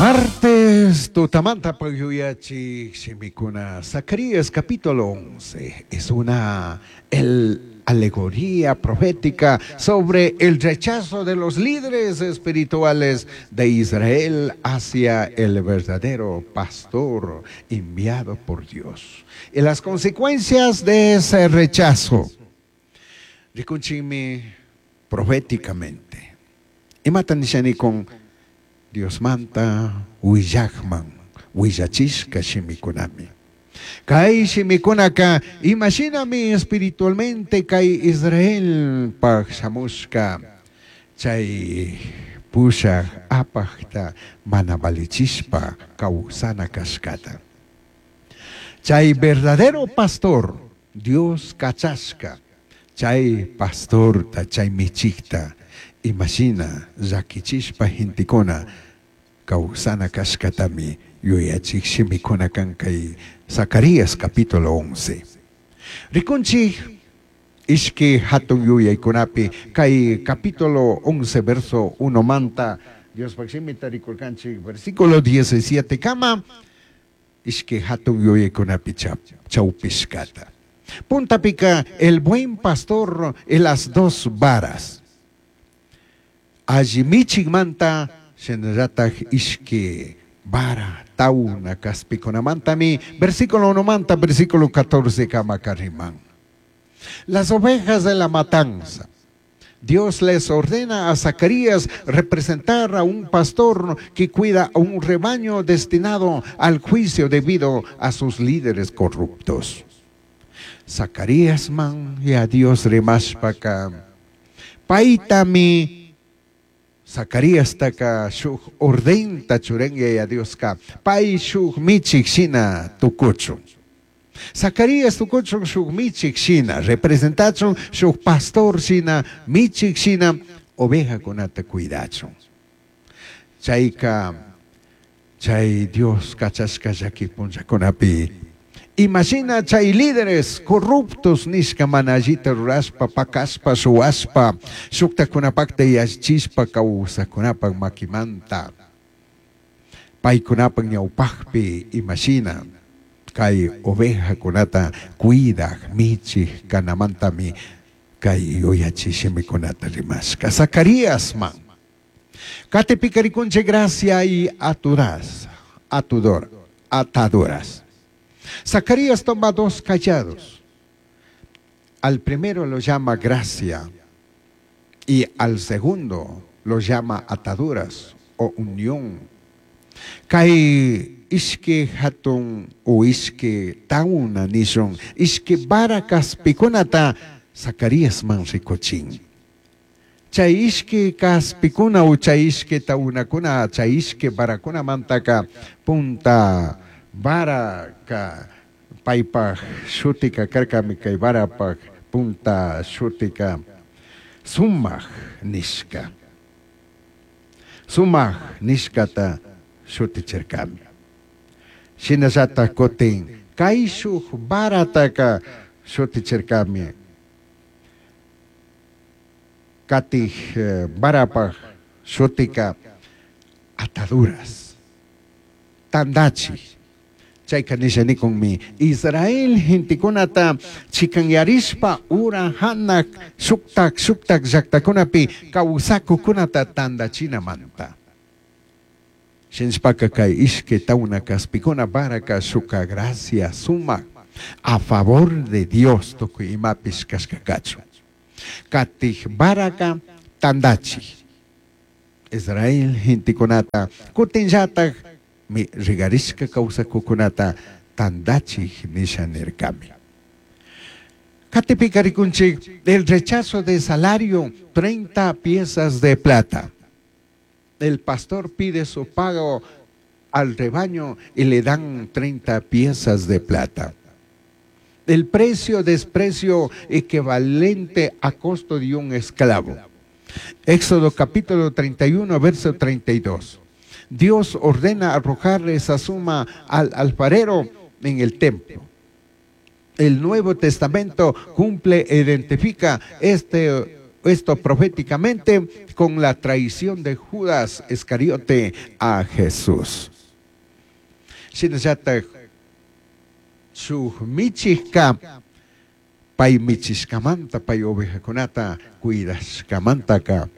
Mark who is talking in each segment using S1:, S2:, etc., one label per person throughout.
S1: Martes tutamanta yuyachik shimikuna Zacarías capítulo 11 es una el, alegoría profética sobre el rechazo de los líderes espirituales de Israel hacia el verdadero pastor enviado por Dios y las consecuencias de ese rechazo. Rikunchikmi proféticamente. Imata nishanikun Diosmanta huillakman huillachishka shimikunami. Kay shimikunaka imashinami espiritualmente kay Israelpaj shamushka chay pushak apakta mana valichishpa kawsana kashkata. Chay verdadero pastor Dios kachashka chay pastorta chay michikta imashina llakichishpa gentekuna kawsana kashkatami yuyachik shimikuna kan kay Zacarías capítulo 11. Rikunchik ishki hatun yuyaykunapi kay capítulo 11 verso 1 manta Diospaj shimita rikurkanchik versículo 17 kama ishki hatun yuyaykunapi chawpishkata. Puntapika el buen pastor y las dos varas. Alli michikmanta shinallatak ishki vara tauna kaspikunamantami versículo 1 manta versículo 14 kama kariman. Las ovejas de la matanza. Dios les ordena a Zacarías representar a un pastor que cuida a un rebaño destinado al juicio debido a sus líderes corruptos. Zacarías man Yaya Dios rimashpaka paitami Zacarías taka shuk ordenta churen Yaya Dioska pay shuk michik shina tukuchun. Zacarías tukuchun shuk michik shina representachun shuk pastor shina michik shina ovejakunata cuidachun. Chayka chay Dios kachashka llaki punllakunapi imashina chay líderes corruptos nishka mana allita rurashpa pakashpa shuwashpa shuktakunapakta yachishpa kawsakunapak makimanta paykunapak ñawpakpi imashina kay ovejakunata cuidak michik kanamantami kay yuyachik shimikunata rimashka Zacarías man Katipika rikunchik gracia y aturas, atudor, ataduras. Zacarías toma dos cayados. Al primero lo llama gracia y al segundo lo llama ataduras o unión. Kay ishki hatun o ishki tauna nishun, ishki vara kaspikunata Zacarías man rikuchin. Chay ishki kaspikuna o chay ishki taunakuna, chay ishki varakuna mantaka punta vara ka paypaj shutika karkami kay varapaj punta shutika sumaj nishka. Sumaj nishkata shutichirkami. Shinallatak kutin kayshuj varataka shutichirkami. Katij varapaj shutika ataduras. Tandachi. Chayka nishanikunmi Israel gentekunata chikanyarishpa ura hanak shuktak shuktak llaktakunapi kawsakukunata tandachinamanta. Shinshpaka kay ishki tauna kaspikuna varaka shuka gracia suma a favor de Dios tukuy imapish kashkakachu. Katij varaka tandachi. Israel gentekunata kutinllatak mi rigarishka kawsakukunata tandachik nisha nirkami. Katipika rikunchik el rechazo de salario 30 piezas de plata. El pastor pide su pago al rebaño y le dan 30 piezas de plata. El precio desprecio equivalente a costo de un esclavo. Éxodo capítulo 31, verso 32. Dios ordena arrojar esa suma al alfarero en el templo. El Nuevo Testamento cumple e identifica este esto proféticamente con la traición de Judas Iscariote a Jesús. Shinallataj shuj michijka pai michishcamanta pai ovejacunata cuidashcamantaca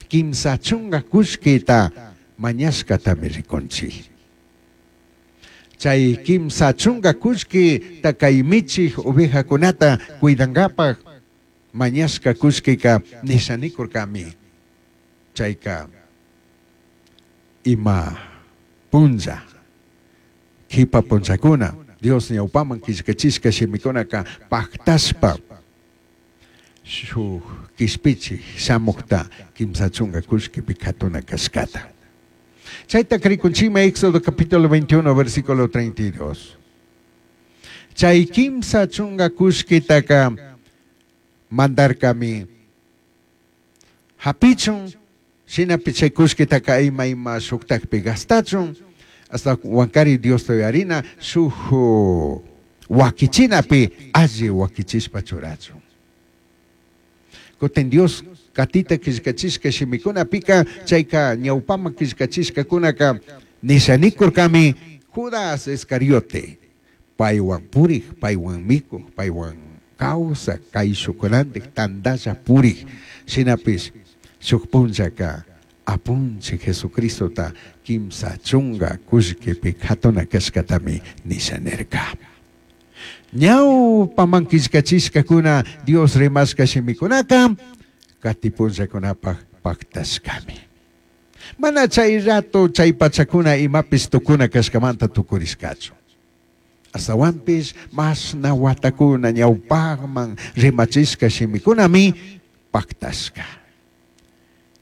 S1: quimsa chunga cullquita mañashcatami ricunchij. Chay quimsa chunga cullquita kay michij ovejacunata cuidangapaj mañashca cullquica nishanikurkami. Chayka ima punlla kipa punllakuna Dios ñawpaman killkachishka shimikunaka pactashpa shuj kishpichij shamukta quimsa chunga kullkipi katuna kashkata. Chayta rikunchikmi Éxodo capítulo 21 versículo 32. Chay quimsa chunga kullkitaka mandarkami hapichun shinapi chay kullkitaka ima ima shuktakpi gastachun hasta wankari Diosta uyarina shuk wakichinapi alli wakichishpa churachun. Kutin Dios katita killkachishka shimikunapika chayka ñawpaman killkachishkakunaka nishanikurkami Judas Iscariote paywan purik, paywan mikuj, paywan kawsak, kayshukunantik tantalla purik shinapish shuk punllaka apunchik Jesucristota quimsa chunga kullkipi katuna kashkatami nishanirka. Ñawpaman killkachishkakuna Dios rimashka shimikunaka kati punllakunapaj paktashkami. Mana chay rato chay pachakuna imapish tukuna kashkamanta tukurishkachu. Astawanpish mashna watakuna ñawpajman rimachishka shimikunami paktashka.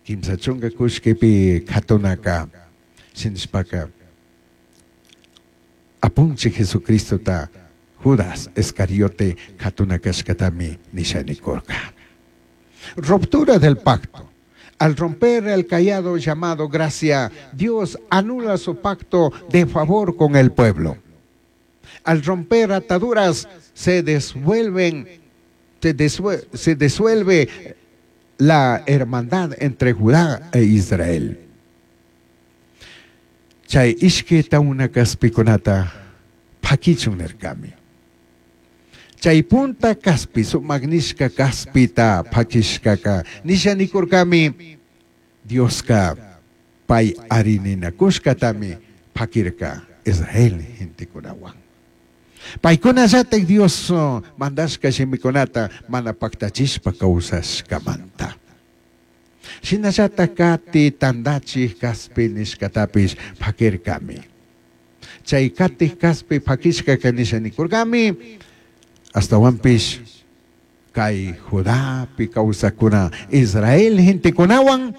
S1: Quimsa chunga kullkipi katunaka shinashpaka apunchik Jesucristota Judas Iscariote katuna kashkatami nishanikurka. Ruptura del pacto. Al romper el callado llamado gracia, Dios anula su pacto de favor con el pueblo. Al romper ataduras, se disuelve la hermandad entre Judá e Israel. Chay ishki tauna kaspikunata pakichun nirkami. Chay punta kaspi, sumagnishka kaspita pakishkaka nishanikurkami Dioska pay arininakushkatami pakirka Israel gentekunawan. Paykunallatak Dios mandashka shimikunata mana paktachishpa kawsashkamanta. Shinallatak kati tandachik kaspi nishkatapish pakirkami. Chay katij kaspi pakishkaka nishanikurkami astawanpish kay Judapi kawsakuna Israel gentekunawan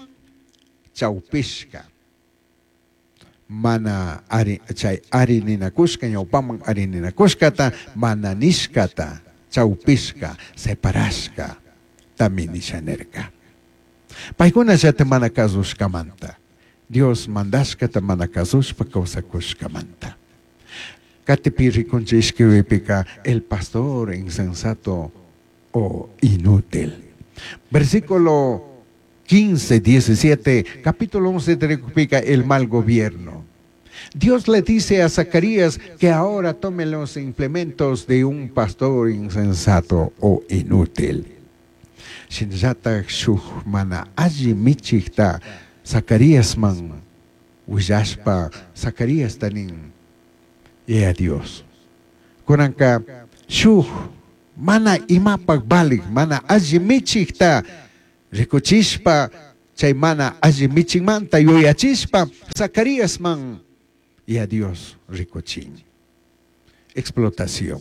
S1: chawpishka. Mana ari chay arininakushka ñawpaman arininakushkata mana nishkata chawpishka separashka tami nishanirka. Paykunallata mana kasushkamanta Dios mandashkata mana kasushpa kawsakushkamanta. Katipi rikunchik ishkiwipika el pastor insensato o inútil. Versículo 15, 17, capítulo 11 te el mal gobierno. Dios le dice a Zacarías que ahora tome los implementos de un pastor insensato o inútil. Shinallatak shuk mana alli michikta Zacaríasman willashpa Zacarías tanin Yaya Dios. Kunanka shuk mana imapak valik, mana alli michikta rikuchishpa chay mana alli michikmanta yuyachishpa Zacaríasman Yaya Dios rikuchin. Explotación.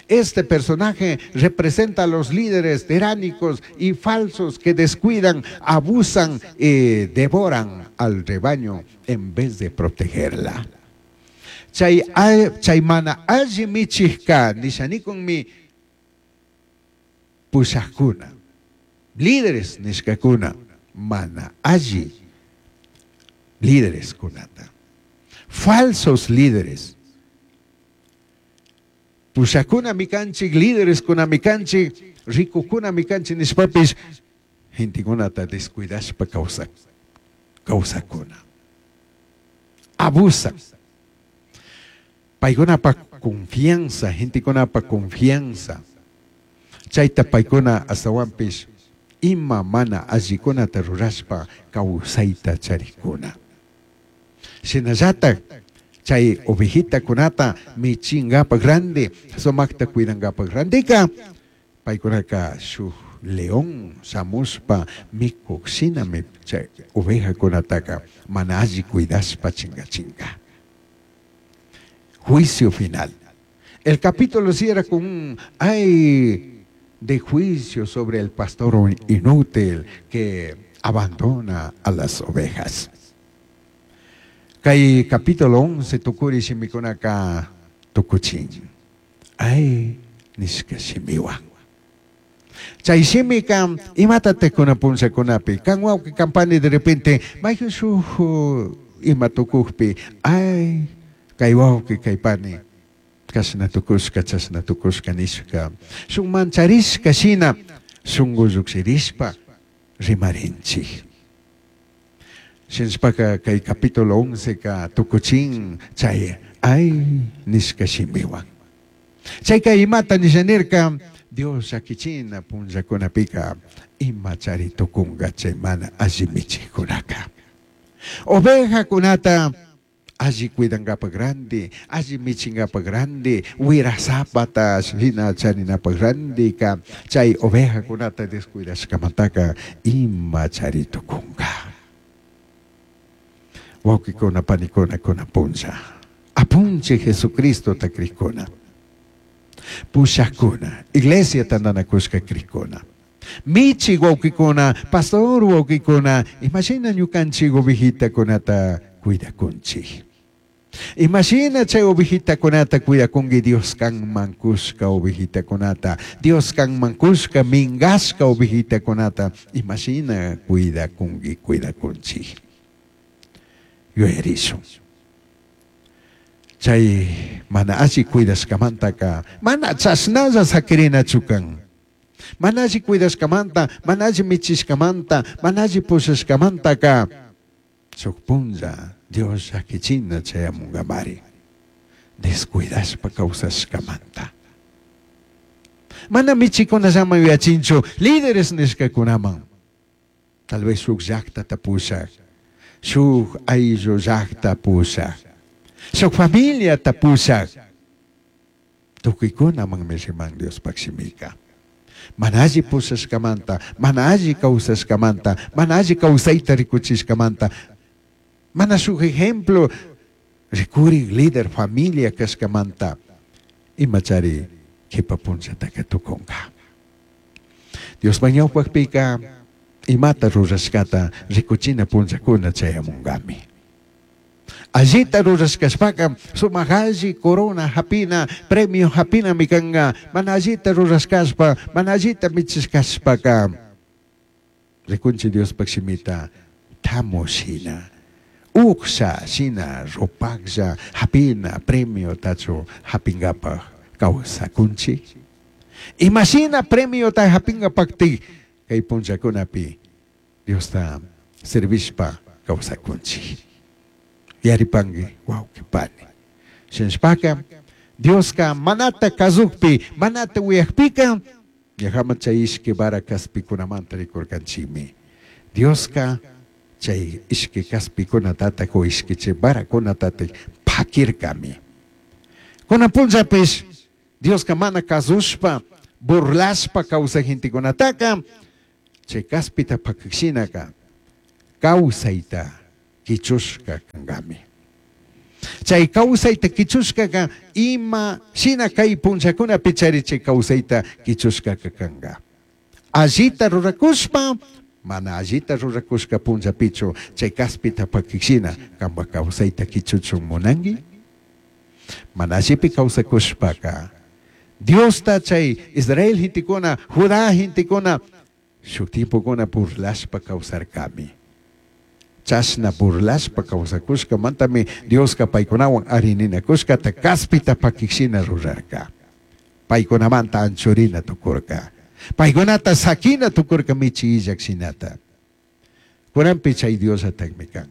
S1: Este personaje representa a los líderes tiránicos y falsos que descuidan, abusan y devoran al rebaño en vez de protegerla. Chay, chay mana alli michijka nishanikunmi pushajkuna, líderes nishkakuna, mana alli líderes kunata. Falsos líderes. Pushakuna mikanchik, líderes kuna mikanchik, ricukuna mikanchik nishpapish Gentecunata descuidashpa causac causacuna. Abusan. Paicunapaj confianza, gentecunapaj confianza. Chaita paicuna ashtahuanpish ima mana allicunata rurashpa causaita charicuna. Shinallataj chai ovejitacunata michingapaj randi, sumajta cuidangapaj randica, paicunaca shuj león shamushpa micuj shinami chai ovejacunataca mana alli cuidashpa chingachinga. Juicio final. El capítulo cierra con un ay de juicio sobre el pastor inútil que abandona a las ovejas. Cai capítulo 11 tucuri shimicunaca tucuchin. Ay nishca shimihuan. Chai shimica imatataj cunan punllacunapi can huauqui can pani de repente maijan shuj ima tucujpi ay cai huauqui cai pani cashna tucushca chashna tucushca nishca shun mancharishca shina shungu llujshirishpa rimarinchij. Shinashpaca cai capítulo onceca tucuchin chai ay nishca shimihuan. Chaica imata nisha nirca? Dios llaquichina punllacunapica ima chari tucunga chai mana alli michijcunaca. Ovejacunata alli cuidangapaj randi, alli michingapaj randi, huirasapata shina charinapaj randica chai ovejacunata descuidashcamantaca ima chari tucunga. Huauquicuna, panicuna, cunan punlla, Apunchij Jesucristota crijcuna, pushajcuna, iglesia tandanacushca crijcuna, michi huauquicuna, pastor huauquicuna, imashina ñucanchij ovejitacunata cuidacunchij. Imashina chai ovejitacunata cuidacungui Dios canman cushca ovejitacunata, Dios canman cushca mingashca ovejitacunata, imashina cuidacungui, cuidacunchij. Yuyarishun. Chai mana alli cuidashcamantaca mana chashnalla saquirinachu can. Mana alli cuidashcamanta, mana alli michishcamanta, mana alli pushashcamantaca shuj punlla Dios llaquichina chayamungamari descuidashpa causashcamanta. Mana michicunallaman yuyachinchu líderes nishcacunaman. Tal vez shuj llajtata pushaj, shuj ayllu llajta pushaj, shuj familiata pushaj. Tucuicunamanmi riman Diospaj shimica. Mana alli pushashcamanta, mana alli causashcamanta, mana alli causaita ricuchishcamanta, mana shuj ejemplo ricurij líder familia cashcamanta, imachari jipa punllataca tucunga. Diospaj ñaupajpica imata rurashcata ricuchina punllacuna chayamungami. Allita rurashcashpaca sumaj alli corona japina, premio japinami canga. Mana allita rurashcashpa, mana allita michishcashpaca ricunchi Diospaj shimita tamu shina, ujsha shina rupajlla japina premiotachu japingapaj causacunchi. Imashina premiota japingapajti cai punllacunapi Diosta servishpa causacunchi. Yaripangui huauqui pani. Shinashpaca Diosca manata cazujpi, manata uyajpica, ñajaman chay ishqui vara caspicunamanta ricurcanchimi. Diosca chay ishqui caspicunatataj o ishqui chay varacunatataj paquircami. Cunan punllapish Diosca mana cazushpa, burlashpa causaj gentecunataca chay caspita paquij shinaca causaita quichushca cangami. Chai causaita quichushcaca ima shina cai punllacunapi chari chai causaita quichushcaca canga. Allita ruracushpa, mana allita ruracushca punllapichu chai caspita paquij shina cambaj causaita quichuchun munangui? Mana allipi causacushpaca, Diosta chai Israel gentecuna, Judá gentecuna shuj tiempocuna burlashpa causarcami. Chashna burlashpa causacushcamantami Diosca paicunahuan ari ninacushcata caspita paquij shina rurarca. Paicunamanta anchurina tucurca. Paykunata saquina tukurka michi illak shinata. Kunanpi chay Diosllatakmi kan.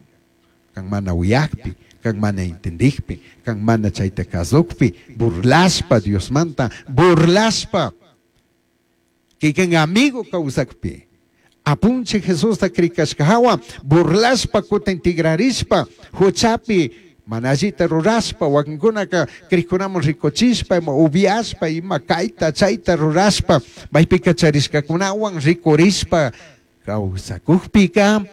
S1: Kan mana uyakpi, kan mana entendikpi, kan mana chayta kasukpi, burlashpa Diosmanta, burlashpa kikin amigo kawsakpi, apunchik Jesusta krikashka hawa, burlashpa kutin tigrarishpa, huchapi mana allita rurashpa, wakinkunaka krikunaman rikuchishpa, ima upiashpa, ima kayta chayta rurashpa, maypika charishkakunawan rikurishpa kawsakukpika,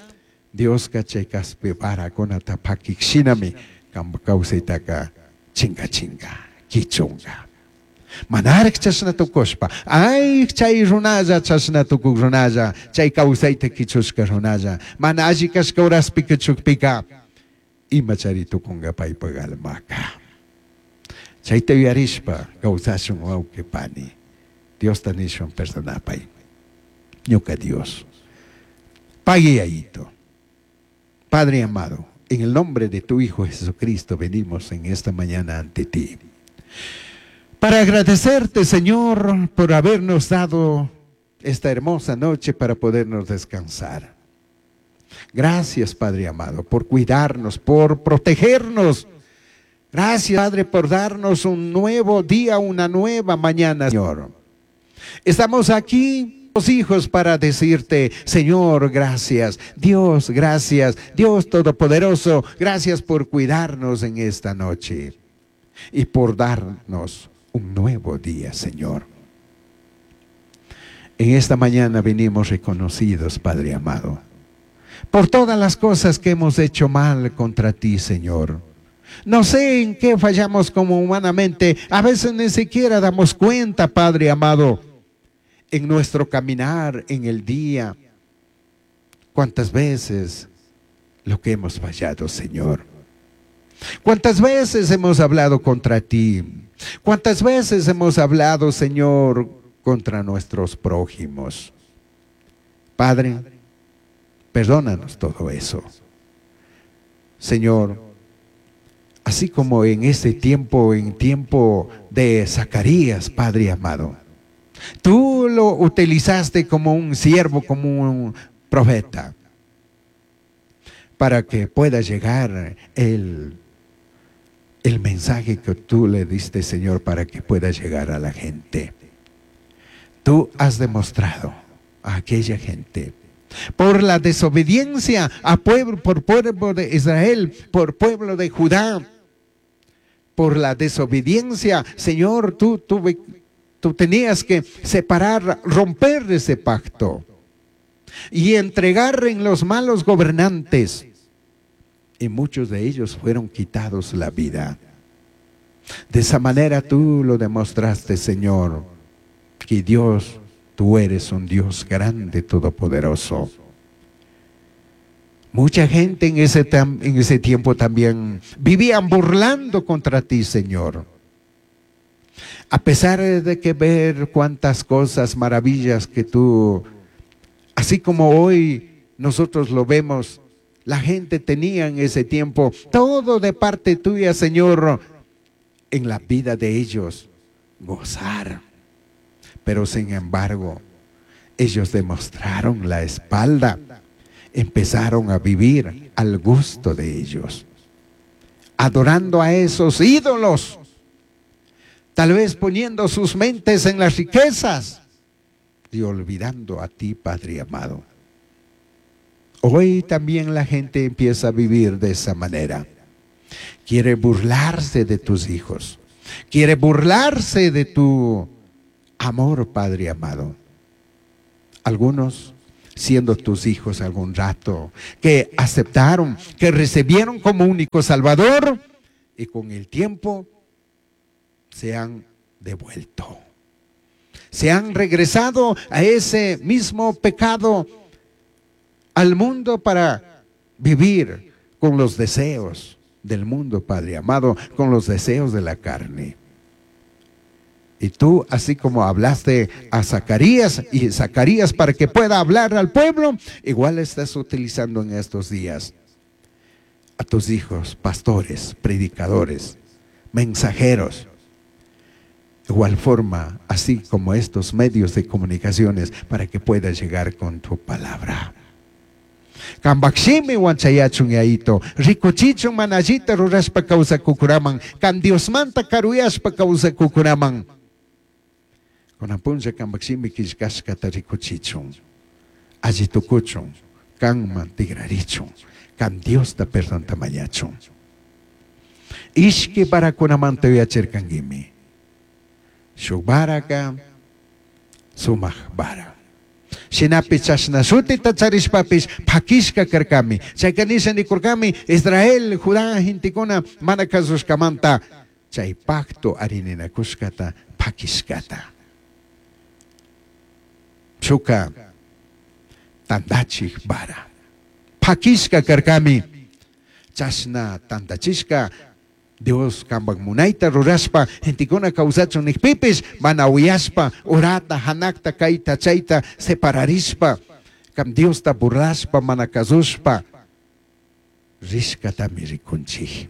S1: Dioska chay kaspi varakunata pakik shinami kanpak kawsaytaka chinkachinka, kichunka. Manarik chashna tukushpa, ay chay runalla chashna tukuk runalla, chay kawsayta kichushka runalla, mana alli kashka horaspi kichukpika, ima chari tukunka paypak almaka. Chayta yuyarishpa kawsashun wawqi pani, Diosta nishun perdonapay, ñuka Dios. Pague ayito. Padre amado, en el nombre de tu Hijo Jesucristo venimos en esta mañana ante ti. Para agradecerte, Señor, por habernos dado esta hermosa noche para podernos descansar. Gracias, Padre amado, por cuidarnos, por protegernos. Gracias, Padre, por darnos un nuevo día, una nueva mañana, Señor. Estamos aquí, los hijos, para decirte, Señor, gracias. Dios, gracias. Dios Todopoderoso, gracias por cuidarnos en esta noche y por darnos un nuevo día, Señor. En esta mañana venimos reconocidos, Padre amado, por todas las cosas que hemos hecho mal contra ti, Señor. No sé en qué fallamos como humanamente. A veces ni siquiera damos cuenta, Padre amado, en nuestro caminar, en el día. ¿Cuántas veces lo que hemos fallado, Señor? ¿Cuántas veces hemos hablado contra ti? ¿Cuántas veces hemos hablado, Señor, contra nuestros prójimos? Padre, perdónanos todo eso. Señor, así como en este tiempo, en tiempo de Zacarías, Padre amado, tú lo utilizaste como un siervo, como un profeta, para que pueda llegar el mensaje que tú le diste, Señor, para que pueda llegar a la gente. Tú has demostrado a aquella gente, por la desobediencia a pueblo, por pueblo de Israel, por pueblo de Judá, por la desobediencia, Señor, tú tenías que separar, romper ese pacto y entregar en los malos gobernantes. Y muchos de ellos fueron quitados la vida. De esa manera tú lo demostraste, Señor, que Dios, tú eres un Dios grande, todopoderoso. Mucha gente en ese tiempo también vivían burlando contra ti, Señor. A pesar de que ver cuántas cosas, maravillas que tú, así como hoy nosotros lo vemos, la gente tenía en ese tiempo todo de parte tuya, Señor, en la vida de ellos, gozar. Pero sin embargo, ellos demostraron la espalda, empezaron a vivir al gusto de ellos, adorando a esos ídolos, tal vez poniendo sus mentes en las riquezas y olvidando a ti, Padre amado. Hoy también la gente empieza a vivir de esa manera. Quiere burlarse de tus hijos. Quiere burlarse de tu amor, Padre amado. Algunos, siendo tus hijos algún rato, que aceptaron, que recibieron como único Salvador, y con el tiempo se han devuelto. Se han regresado a ese mismo pecado, al mundo, para vivir con los deseos del mundo, Padre amado, con los deseos de la carne. Y tú, así como hablaste a Zacarías y Zacarías para que pueda hablar al pueblo, igual estás utilizando en estos días a tus hijos, pastores, predicadores, mensajeros. Igual forma, así como estos medios de comunicaciones, para que pueda llegar con tu palabra. Cambaj shimihuan chayachun Yayito, ricuchichun mana allita rurashpa causacucunaman, can Diosmanta caruyashpa causacucunaman. Cunan punlla cambaj shimi quillcashcata ricuchichun, alli tucuchun, canman tigrarichun, can Diosta perdonta mañachun. Ishqui varacunamanta yuyachircanguimi. Shuj varaca sumaj vara. Shinapish chashna shutita charishpapish paquishca carcami. Chaica nisha nicurcami, Israel, Judá gentecuna mana cazushcamanta chai pacto arininacushcata paquishcata. Shuca tandachij vara. Paquishca carcami. Chashna tandachishca Dios cambaj munaita rurashpa gentecuna causachun nijpipish mana uyashpa urata, janajta, caita, chaita separarishpa can Diosta burlashpa mana cazushpa rishcatami ricunchij.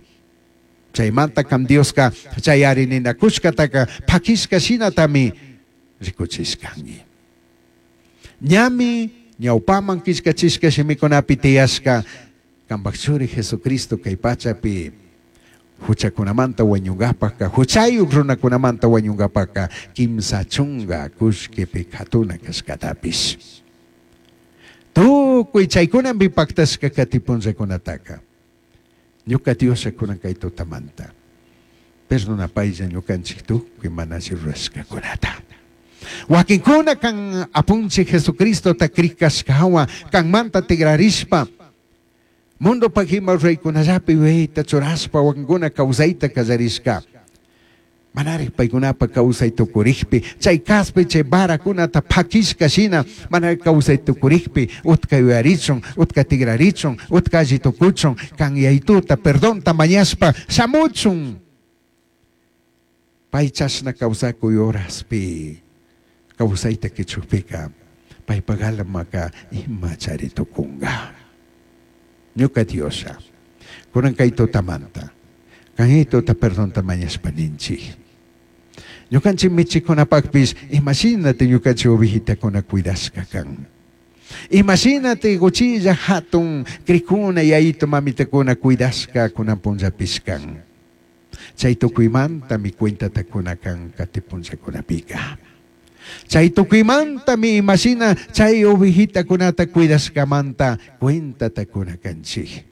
S1: Chaimanta can Diosca chay arininacushcataca paquishca shinatami ricuchishcangui. Ñami ñaupaman quillcachishca shimicunapi tiyashca cambaj churi Jesucristo cai pachapi juchacunamanta huañungapajca, juchayuj runacunamanta huañungapajca quimsa chunga cullquipi catuna cashcatapish. Tucui chaicunami pactashca cati punllacunataca. Ñuca Dioslla cunan cai tutamanta. Perdonapaylla ñucanchij tucui mana alli rurashcacunata. Huaquincuna can Apunchij Jesucristota crij cashcahuan canmanta tigrarishpa mundopaj ima ruraicunallapi yuyayta churashpa huaquincuna causaita callarishca. Manaraj paicunapaj causai tucurijpi, chai caspi chai varacunata paquishca shina manaraj causai tucurijpi, utca yuyarichun, utca tigrarichun, utca alli tucuchun, can Yaituta perdonta mañashpa shamuchun. Pai chashna causacuy horaspi causaita quichujpica, paipaj almaca ima chari tucunga. Ñuca Dioslla, cunan cai tutamanta, can Yaituta perdonta mañashpa ninchij. Ñucanchij michijcunapajpish imashinati ñucanchij ovejitacuna cuidashca can. Imashinati cuchilla jatun crijcuna, yayito mamitacuna cuidashca cunan punllapish can. Chai tucuimantami cuentata cuna can cati punllacunapica. Chai tucuimantami imashina chai ovejitacunata cuidashcamanta cuentata cuna canchij.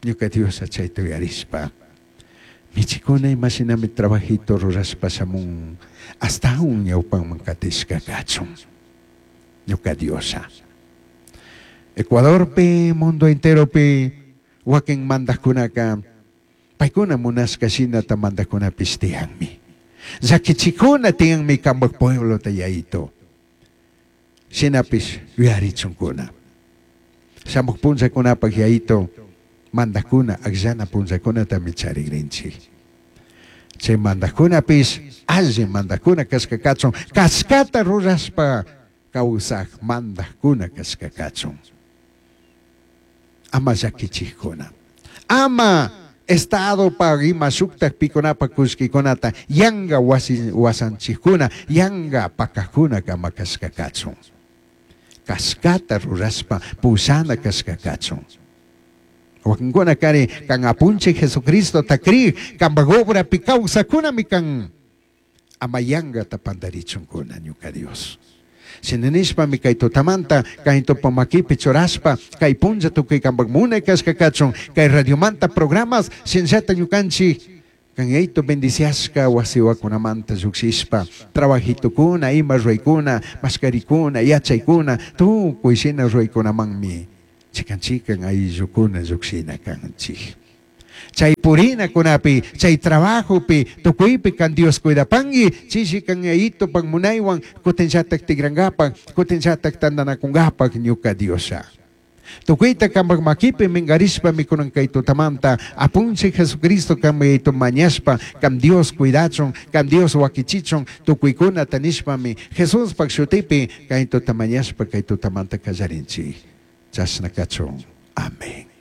S1: Ñuca Dioslla chaita uyarishpa, michicuna imashinami trabajito rurashpa shamun, ashtahuan ñaupaman catishca cachun. Ñuca Dioslla. Ecuadorpi, mundo enteropi huaquin mandajcunaca paicuna munashca shinata mandajcunapish tiyanmi. Llaquichicuna tiyanmi cambaj pueblota Yaito. Shinapish yuyarichuncuna. Shamuj punllacunapaj Yaito mandajcuna agllana punllacunatami charigrinchij. Chai mandajcunapish alli mandajcuna cashca cachun, cashcata rurashpa causaj mandajcuna cashca cachun. Ama llaquichijcuna. Ama Estadopaj ima shujtaj picunapaj cullquicunata yanga huasanchijcuna, yanga pacajcuna ama cashca cachun. Cashcata rurashpa pushana cashca cachun. Huaquincuna cari can Apunchij Jesucristota crij, cambaj obrapi causajcunami can. Ama yangata pandarichuncuna, ñuca Dios. Shina nishpami cai tutamanta cai tupa maquipi churashpa cai punlla tucui cambaj munai cashca cachun, cai radiomanta programas shinallata ñucanchij can Yaito bendiciashca huasihuacunamanta llujshishpa trabajitocuna, ima ruraicuna, mashcaricuna, yachaicuna, tucui shina ruraicunamanmi chican chican ayllucuna llujshina canchij. Chai purinacunapi, chai trabajopi, tucuipi can Dios cuidapangui, chishi can Yaitopac munaihuan cutinllataj tigrangapac, cutinllataj tandanacungapac ñuca Dioslla. Tucuita cambac maquipi mingarishpa micunan cai tutamanta, Apunchij Jesucristo can Yaito mañashpa, can Dios cuidachun, can Dios huaquichichun, tucuicunata nishpami, Jesuspac shutipi cai tuta mañashpa cai tutamanta callarinchij. Chashna cachun. Amén.